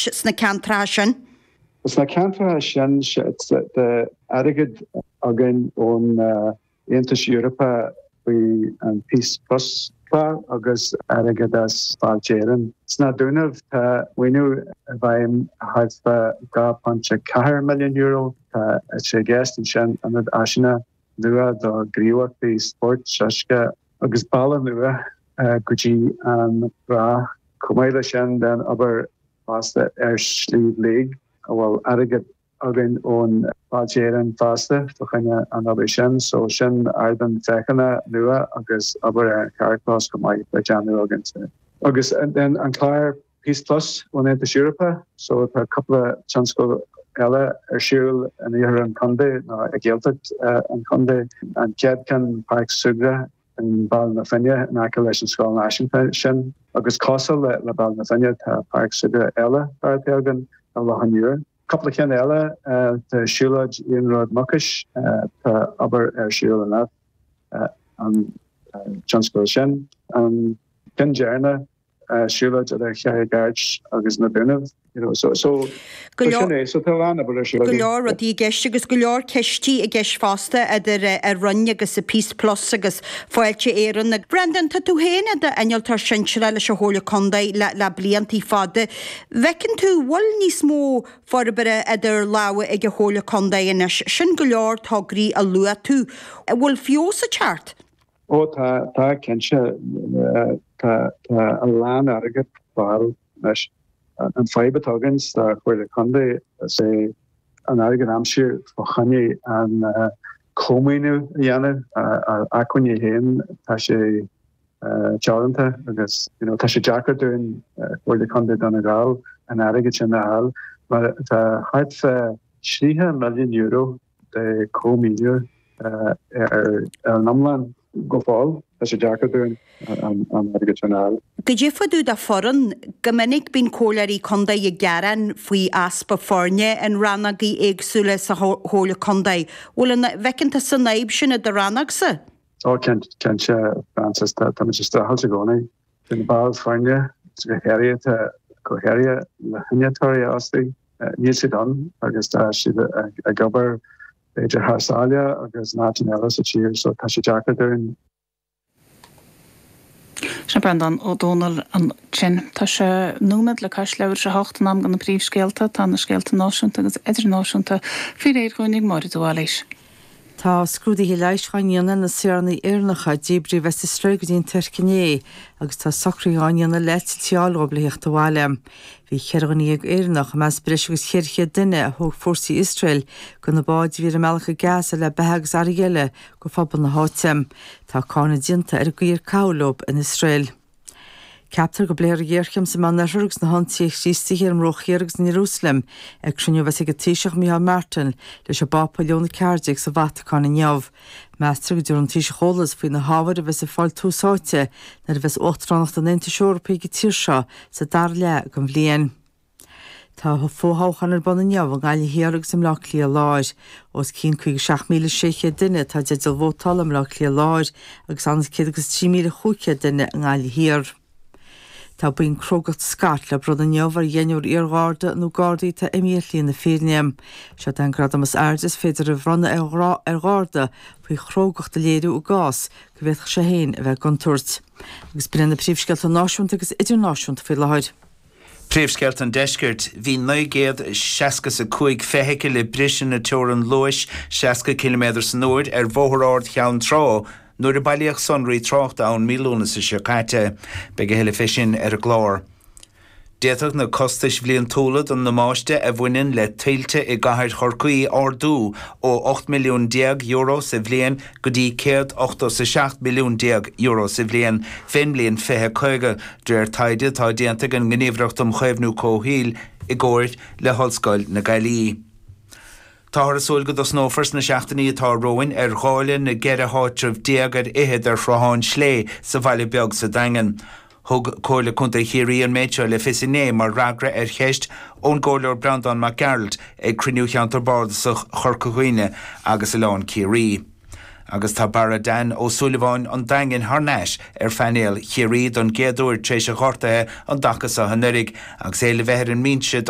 gceist sna ceantracha sin? Sna ceantracha sin tá airgead againn ón Aontas Eorpach faoi an Peace Plus clár agus airgead as Fáilte Éireann. Sna Dúnaibh tá maoiniú i bhfeidhm thart fá €2.4 milliún. Tá sé i gceist ansin ionad áiseanna nua do ghníomhaíochtaí spóirt, uisce agus bealach nua go dtí an trá. Chomh maith leis sin tá an obair fosta ar Shliabh Liag a bhfuil airgead againn ón Fáilte Éireann fosta fá choinne an obair sin. So sin ardán féachana nua agus obair ar an charrchlós chomh maith le déanamh againn. Agus then an clár Peace Plus ón Aontas Eorpach, so tá cúpla tionscal eile ar siúl in iarthar an chontae nó i Gaeltacht an chontae. An chéad ceann Páirc Súgartha i mBaile na Finne in aice leis an Scoil Náisiúnta sin agus cosúil le Baile na Finne tá Páirc Súgartha eile beartaithe againn i Loch an Iúir. Cúpla ceann eile, tá siúlóid Iarnród Mucais, tá obair ar siúl in an tionscal sin. An ceann deireanach, siúlóid idir Charraig Airt agus na Dúnaibh, you know, so, so, so sin é, so tá a lán obair ar siúl againn. Go leor rudaí i gceist agus go leor cistí i gceist fosta idir an Roinn agus Peace Plus agus Fáilte Éireann. Brendan, tá tú féin i d'innealtóir sinsearach leis an Chomhairle Contae le le bliantaí fada. Bhfeiceann tú, bhfuil níos mó forbartha idir lámha ag an Chomhairle Contae anois? Sin go leor tograí a luaigh tú. An bhfuil feabhas ag teacht? Ó tá, tá cinnte. Tá, tá a lán airgead ar fáil anois. An fadhb atá againn sa Chomhairle Contae is é an airgead a aimsiú fá choinne an cómhaoiniú a dhéanamh. Ár acmhainní féin tá sé teoranta agus you know tá sé deacair dúinn, Comhairle Contae Dhún na nGall, an airgead sin a fháil mar tá thart fá €30 milliún de chómhaoiniú ar an iomlán go fóill. Tá sé deacair dúinn an airgead sin a fháil. Goidé fá dtaobh de foireann. Go minic bíonn comhairleoirí contae ag gearán faoi easpa foirne in rannógaí éagsúla sa chomhairle contae. Bhfuil an bhfeiceann tusa an fhadhb sin i do rannógsa? Ó cinnte, Frances, táimid ag streachailt i gcónaí. Tá na baill foirne, go háirithe, go háirithe na hinnealtóirí a fhostú, níl siad ann agus tá siad ag obair b'fhéidir thar sáile agus in áiteanna eile sa tír so tá sé deacair dúinn. Sin Breandán Ó Dónaill ansin. Tá sé nóiméad le cois leathuair tar éis a hocht, in am do na príomhscéalta. Tá na scéalta náisiúnta agus idirnáisiúnta faoi réir dhúinn ag Máire de Bhailís. Tá scrúduithe leighis á ndéanamh ar na saoránaigh Éireannacha a díbríodh as Iosrael go dtí an Tuirc inné agus tá socruithe á ndéanamh le heitiltí a fháil dhóibh le theacht abhaile. Bhí 14 dhuine Éireannach i measc breis agus 400 duine a thóg fórsaí Iosrael de na báid a bhí ar a mbealach go Gaza le beatha agus earraí eile go phobal na háite. Tá cáineadh déanta ar an gcaoi ar caitheadh leo in Iosrael. Ceaptar go bpléifear an ghéarchéim sa Meánoirthear agus na hionsaithe Chríostaithe ar an mBruach Thiar agus in Iarúsailéim ag cruinniú a bheas ag an Taoiseach Micheál Martin leis an bPápa Leon 14 sa Vatacáin inniu. Meastar go dtabharfaidh an Taoiseach eolas faoi na hábhair a bheas ag fáil tús áite nuair a bheas Uachtaránacht an Aontais Eorpaigh ag an tír seo sa dara leath den bhliain. Tá fothoghcháin ar bun inniu i nGaillimh Thiar agus i mBleá Cliath Láir. Os cionn 57,600 duine atá i dteideal vótála i mBleá Cliath Láir agus an-chéad agus 3,500 duine i nGaillimh Thiar. Tá boinn Crógacht Scott le bronnadh inniu ar dheichniúr iar-gharda nó gardaí atá imithe ar shlí na fírinne. Seod é an gradam is airde is féidir a bhronnadh ar gharda faoi chrógacht a léiriú i gcás go bhféadfadh sé féin a bheith i gcontúirt. Agus b'in iad na príomhscéalta náisiúnta agus idirnáisiúnta faoi láthair. Príomhscéalta an Deiscirt, Bhí 965 feithicil ag briseadh na teorann luais 60 ciliméadar san uair ar Bhóthar Ard Cheann Trá nuair a bailíodh sonraí tráchta ann mí Lúnasa seo caite. Beidh a thuilleadh fé sin ar an gclár. D'fhéadfadh na costais bhliantúla don ndamáiste a bhaineann le tuilte i gcathair Chorcaí ardú ó €18 milliún sa bhliain go dtí €187 milliún sa bhliain fén mbliain 2050, de réir taighde atá déanta ag an nGníomhaireacht um Chaomhnú Comhshaoil i gcomhair le hOllscoil na Gaillimhe. Táthar ag súil go dtosnófar sna seachtainí atá romhainn ar dháileadh na gceithre háitreabh déag ar fhichead ar Shruthán Slé sa Bhaile Beag sa Daingean. Thug Comhairle Contae Chiarraí an méid seo le fios inné mar fhreagra ar cheist ón gComhairleoir Breandán Mac Gearailt ag cruinniú Cheantar Bardasach Chorca Dhuibhne agus Oileán Ciarraí. Agus tá Barra Dan Ó Súilleabháin an Daingin thar n-ais ar phainéal Chiarraí don gcéad uair tar éis a ghortaithe an dtaca seo anuraidh agus é le bheith ar an mbinse do.